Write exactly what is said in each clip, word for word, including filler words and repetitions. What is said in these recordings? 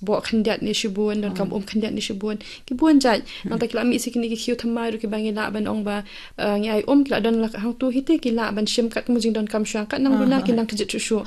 bok khyndiat ne shibun, donkam um khyndiat ne shibun. Ki bun jait. Nangta ki la mih sa kine ki khiew thymmai ruh kiba ngi lah ban ong ba, eh, ngi ai um, ki la don la hangtu hi te ki lah ban shim kat ka jingdonkam shuh, kat nang duna ki nang kjit shuh shuh.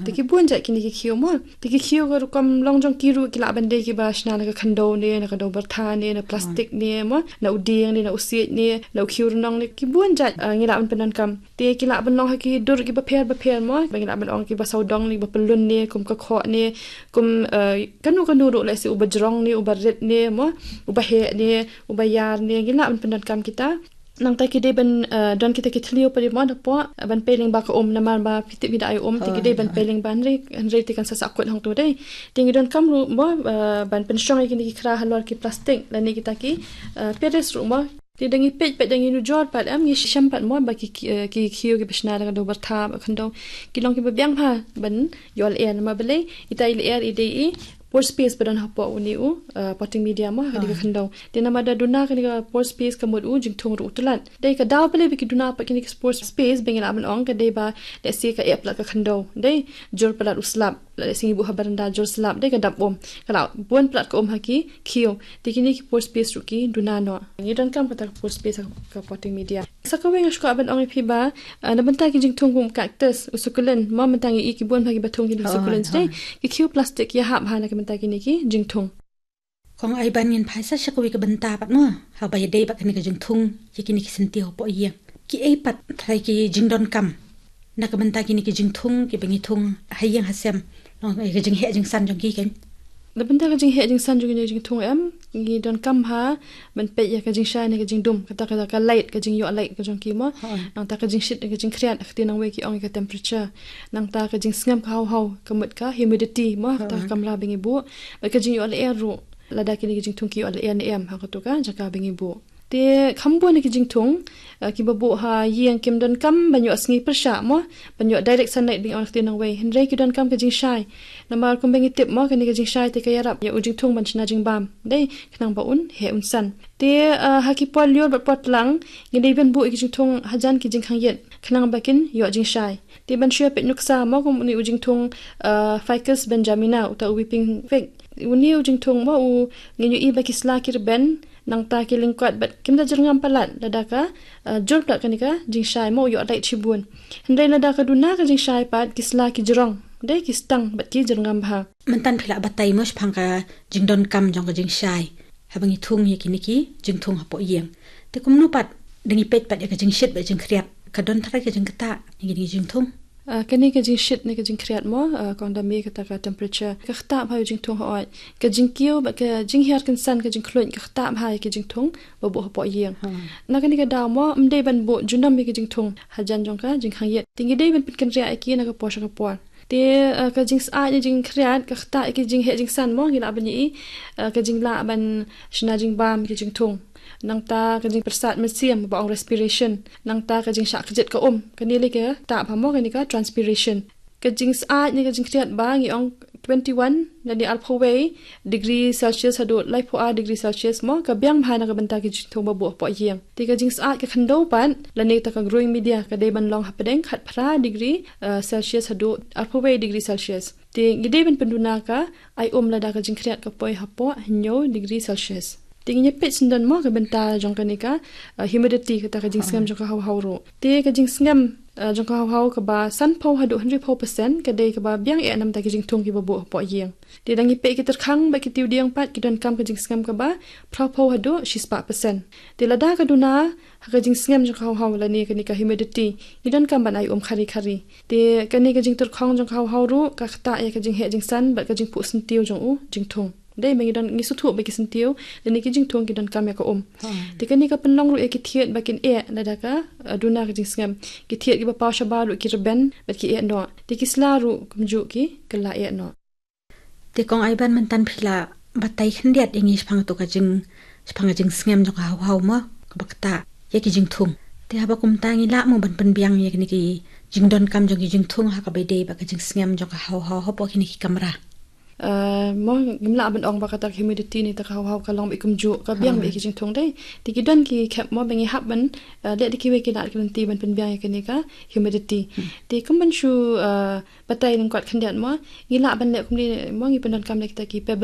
Te ki bun jait kine ki khiew mo. Te ki khiew ka rukom long jong ki ruh ki lah ban dei kiba shna na ka khyndew ne, na ka dew byrtha ne, na plastik ne mo, na u dieng ne, na u siej ne, na u khiew rnong ne, ki bun jait, eh, ngi lah ban pyndonkam. Te ki lah ban long ha ki dur kiba pher ba pher mo, ba ngi lah ban ong kiba sawdong ne, kiba pyllun ne, kum ka khoh ne, kum, eh, kano kano ruh, lehse uba jrong ne, uba rit ne mo, uba heh ne, uba ïar ne, ngi lah ban pyndonkam kita. Nangta ki dei ban, eh, don kita ki thliew pat mo hapoh, eh, ban pei lyngba ka um, namar ba phi tip hi da ai um, te ki dei ban pei lyngba, hynrei, hynrei te kan sa sahkut hangtu dei. Te ngi donkam ruh mo, eh, ban pynshong ïa kine ki khra halor ki plastik lane kita ki, eh, pares ruh mo. Te da ngi peit pat, da ngi nujor pat, em, ngi shem pat mo ba ki, ki, eh, ki khiew kiba shna da ka dew byrtha, ba khyndew, ki long kiba biang bha ban ïoh lyer, namar balei, ita i lyer i dei i pore space ba don hapoh une u, eh, potting media mo, ha kane ka khyndew. Te namar da duna kane ka pore space ka mut u jingthung ruh u tlot. Dei ka daw balei ba ki duna pat kine ka pore space, ba ngi lah ban ong ka dei ba, lehse ka eh palat ka khyndew. Dei, jur palat u slap. Lehse ngi buh ha baranda jur slap, dei ka dap um. Ka la bun palat ka um ha ki khiew. Te kine ki pore space ruh ki duna noh. Ngi donkam kata ka pore space ha ka potting media. Sa kawei nga shu kwah ban ong ïa phi ba, eh, na bynta ki jingthung kum cactus, u succulent, mo mynta ngi i ki bun bha kiba thung kine ki succulent. Dei, ki khiew plastik ki ïahap bha na ka bynta kine ki jingthung. Kong Aiban, ngin phai sa sha kawei ka bynta pat mo, haba ïadei bad kane ka jingthung ïa kine ki syntiew hapoh ïing. Kiei pat trai ki jingdonkam na ka bynta kine ki jingthung kiba ngi thung ha ïing ha sem, long ïa ka jingheh jingsan jong ki, kan? Na bynta ka jingheh jingsan jong kine ki jingthung, em, ngi donkam bha ban peit ïa ka jingshai ne ka jingdum, kata ka, ka light, ka jingïoh light ka jong ki mo. Nangta ka jingshit ne ka jingkhriat, ka ktien nongwei ki ong ïa ka temperature. Nangta ka jingsngem, ka haw haw, ka mut ka humidity mo, kata ka kamra ba ngi buh. Bad ka jingïoh lyer ruh, lada kine ki jingthung ki ïoh lyer ne em ha kato ka jaka ba ngi buh. Te kham bun ki jingthung, eh, kiba buh ha ïing kim donkam ban ïoh sngi pyrshah mo, ban ïoh direct sunlight ba ngi ong ha ka ktien nongwei. Hynrei ki donkam ka jingshai. Namar kumba ngi tip mo, kane ka jingshai te ka ïarap ïa u jingthung ban shna jingbam. Dei, khnang ba un heh un san. Te, eh, ha ki por lyiur bad por tlang, ngi dei ban buh ïa ki jingthung hajan ki jingkhang ïit, khnang ba kin ïoh jingshai. Te ban shu peit nuksa mo, kum une u jingthung, eh, Ficus benjamina, uta u weeping fig. Une u jingthung mo, u, ngin ïohi ba ki sla ki rben, nangta ki lyngkot bad kim da jyrngam palat, lada ka, eh, jur palat kane ka jingshai mo, u ïoh light shibun. Hynrei lada ka duna ka jingshai pat, ki sla ki jrong, dei, ki stang bad ki jyrngam bha. Mynta phi la batai mo shaphang ka jingdonkam jong ka jingshai haba ngi thung ïa kine ki jingthung hapoh ïing. Te kumno pat, da ngi peit pat ïa ka jingshit bad jingkhriat, ka don trai ka jingktah ïa kine ki jingthung? Ah, kane ka jingshit ne ka jingkhriat mo, ah, kong da mih kata ka temperature, ka ktah bha ïa u jingthung hooid. Ka jingkiew bad ka jinghiar kynsan, ka jingkhluit, ka ktah bha ïa ki jingthung ba buh hapoh ïing. Na kane ka daw mo, ym dei ban buh junom ïa ki jingthung hajan jong ka jingkhang ïit. Te ngi dei ban pynkynriah ïa ki na ka por sha ka por. Te, eh, ka jingsyaid ne jingkhriat, ka ktah ïa ki jingheh jingsan mo, ngi lah ban ïohi, eh, ka jinglah ban shna jingbam ïa ki jingthung. Nangta ka jingpyrsad mynsiem ba ong respiration. Nangta ka jingshah kjit ka um. Kane lei ka ktah bha mo, kane ka transpiration. Ka jingsyaid ne ka jingkhriat ba ngi ong twenty-one lane arphew wei degree Celsius haduh laiphew ar degree Celsius mo, ka biang bha na ka bynta ki jingthung ba buh hapoh ïing. Te ka jingsyaid ka khyndew pat, lane ta ka growing media, ka dei ban long hapdeng khatphra degree, eh, Celsius haduh arphew wei degree Celsius. Te ngi dei ban pynduna ka ai um lada ka jingkhriat ka poi hapoh hynñiew degree Celsius. Te ngin ïa peit syndon mo ka bynta jong kane ka, eh, humidity, kata ka jingsngem jong ka haw haw ruh. Te ka jingsngem, eh, jong ka haw haw kaba sanphew haduh hynriewphew percent ka dei kaba biang eh na bynta ki jingthung kiba buh hapoh ïing. Te da ngi peit ki tyrkhang bad ki tiwdieng pat, ki donkam ka jingsngem kaba phraphew haduh shispah percent. Te lada ka duna ha ka jingsngem jong ka haw haw lane kane ka humidity, ngi donkam ban ai um khari khari. Te kane ka jingtyrkhong jong ka haw haw ruh ka ktah ïa ka jingheh jingsan bad ka jingphuh syntiew jong u jingthung. Dei ba ngi don, ngi sngewthuh ba ki syntiew lane ki jingthung ki donkam ïa ka um. Te kane ka pynlong ruh ïa ki thied ba kin eh lada ka, eh, duna ka jingsngem. Ki thied kiba paw shabar ruh ki rben bad ki eh noh. Te ki sla ruh kumjuh ki kylla eh noh. Te kong Aiban, mynta phi la batai khyndiat ïa ngi shaphang kato ka jing, shaphang ka jingsngem jong ka haw haw mo, kaba ktah ïa ki jingthung. Te haba kumta ngi lah mo ban pynbiang ïa kine ki jingdonkam jong ki jingthung ha kaba ïadei bad ka jingsngem jong ka haw haw hapoh kine ki kamra? Eh, mo, ngim lah ban ong ba kata ka humidity ne ta ka haw haw ka long beit kumjuh, ka biang beit ïa ki jingthung, dei. Te ki don ki khep mo ba ngi hap ban, eh, leh da kiwei ki lad ki lynti ban pynbiang ïa kane ka humidity. Te kum ban shu, eh, batai lyngkot khyndiat mo, ngi lah ban leh kumne mo, ngi pyndonkam leh kita ki pebble